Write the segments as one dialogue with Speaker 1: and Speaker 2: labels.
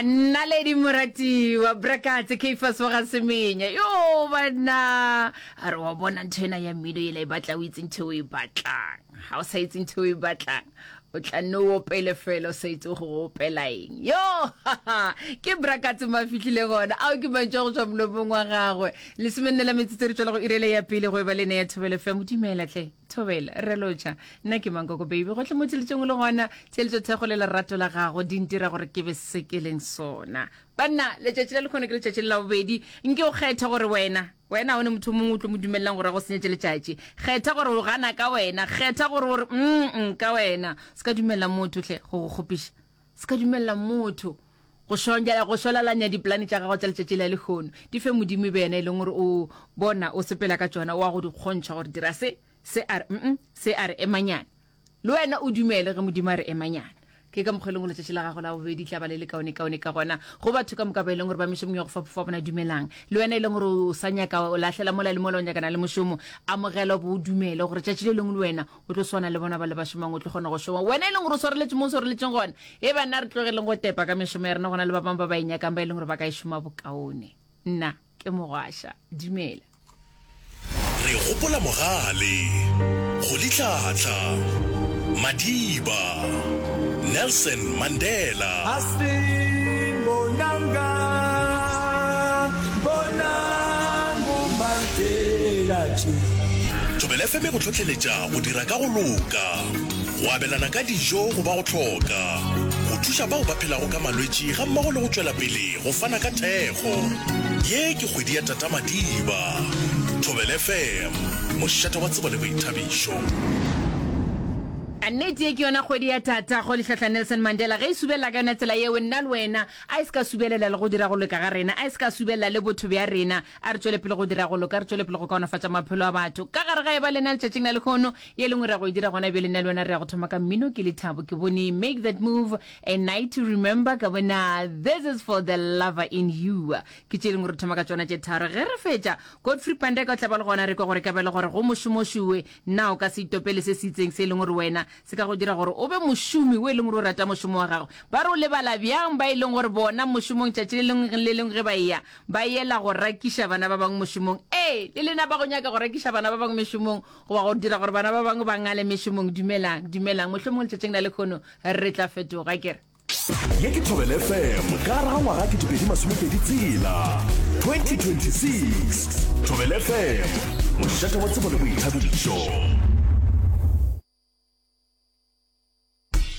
Speaker 1: Naledi moratiwa Brakatse Caiphus wa ga Semenya yo banna a re wa bona ntho ena ya mmino ela e batla o itse ntho o e batlang ga o sa itse ntho o e batlang o tla nne o opele fela o sa itse go opela eng yo ke Brakatse mo a fihlile gona ao ke mantšu a go tšwa molomong wa gagwe lesomenne la metsotso re tšwela go irele ya pele go e ba le ne ya Thobela FM dumela tle Thobela, re lotšha. Nna ke Mankoko Baby. Gohle mo theletšong o le gona, theletšo thekgo le lerato la gago di ntira gore ke be se ke leng sona. Banna, letšatši la lekhono ke letšatši le la bobedi. Nke o kgethe gore wena, wena ga o ne motho o mongwe o tlo mo dumelelang gore a go senyetše letšatši. Kgetha gore o gana ka wena. Kgetha gore o re mm ka wena. Se ka dumelela motho hle go go kgopiša. Se ka dumelela motho go šonja, go šwalalanya dipolane tša gago tša letšatši la lehono. Di fe Modimo e be yena e leng gore o bona o sepela ka tšona, o a go di kgontšha gore dira se, se a re mm, se a re emanyana. Le wena o dumele ge Modimo a re emanyana. Ke ka mokgwa e leng gore letšatši la gago la bobedi tla ba le le kaonekaone ka gona. Go batho ka moka ba e leng gore ba mešomong ya go fapafapana, dumelang. Le wena e leng gore o sa nyaka, o lahlela mola le mola o nyakana le mošomo, amogela o bo o dumele gore tšatši le lengwe le wena O tlo swana le bona ba le ba šomang, o tlo kgona go šoma. Wena e leng gore o swareletše mo o swareletšeng gona. E banna re tlogeleng go tepa ka mešomo ya rena, go na le ba bangwe ba ba e nyakang ba e leng gore ba ka e šoma bokaone. Nna ke Mogwaša. Dumela.
Speaker 2: Re gopola Mogale, Rolihlahla, Madiba, Nelson Mandela.
Speaker 3: Asimbonanga, bonang Mandela tše.
Speaker 2: Thobela FM e go hlohleletša go dira ka go loka, go abelana ka dijo go ba go hloka, go thuša bao ba phelago ka malwetši gammogo le go tšwela pele go fana ka thekgo. Ye ke kgwedi ya Tata Madiba. Thobela FM, mošate wa tsebo le boithabišo.
Speaker 1: A nnete ye ke yona kgwedi ya Tata Rolihlahla Nelson Mandela. Ge e subelela ka yona tsela yeo, nna le wena, a e se ka subelela le go dira go loka ga rena, a e se ka subelela le botho bja rena. A re tšwele pele go dira go loka, re tšwele pele go kaonafatša maphelo a batho. Ka gare ga e ba lena letšatšing la lehono, ye lengwe re ya go e dira gona bjale, nna le wena re ya go thoma ka mmino. Ke Lethabo, ke bone Make That Move, A Night to Remember, ka bona This Is For The Lover In You. Ke tše dingwe re thoma ka tšona tše tharo. Ge re fetša, Godfrey Pandeka o tla ba le gona, re kwe gore ka bjale gore go mošomošuwe, na o ka se itopele se se itseng se e leng gore wena se ka go dira gore o be mošomi o e leng gore o rata mošomo wa gago. Ba re o lebala bjang ba e leng gore bona mošomong tšatši le lengwe le lengwe ge ba eya, Ba yela go rakiša bana ba bangwe mošomong. Ee, le lena ba go nyaka go rakiša bana ba bangwe mešomong goba go dira gore bana ba bangwe ba ngale mešomong, dumelang, dumelang. Mohlomongwe letšatšing la lekhono re tla fetoga, ke re.
Speaker 2: Ye ke Thobela FM ka gare ga ngwaga 2026 2026. Thobela FM, mošate wa tsebo le boithabišo.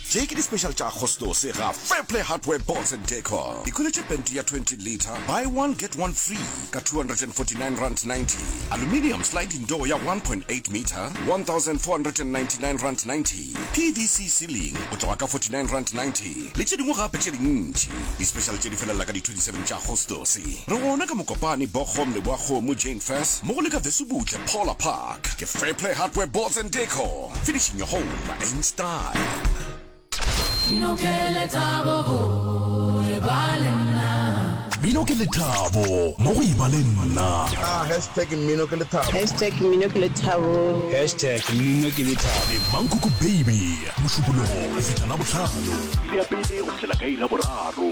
Speaker 2: Tše ke di-special tša Agostose ga Fairplay Hardware Boards and Decor. Ikhweletše pente ya 20 litre, buy one get one free ka R249.90. Aluminium sliding door ya 1.8 metre, R1,499.90. PVC ceiling go tloga ka R49.90 le tše dingwe gape tše dintši. Di-special tše di felela ka di 27 tša Agostose. Re gona ka Mokopane, Bochum, Leboakgomo, Jane Furse, mmogo le ka Vesubutle, Paula Park. Ke Fairplay Hardware Boards and Decor. Finishing your home in style.
Speaker 4: Mmino ke lethabo go e ba le nna.
Speaker 2: Mmino ke lethabo mo go e ba le nna.
Speaker 5: Ah, hashtag mmino ke lethabo.
Speaker 6: Hashtag mmino ke lethabo.
Speaker 7: Hashtag mmino ke lethabo.
Speaker 2: Le Mankoko Baby, Mošupologo go fihla Labohlano.
Speaker 8: Iri ya pele go fihlela ka iri ya boraro.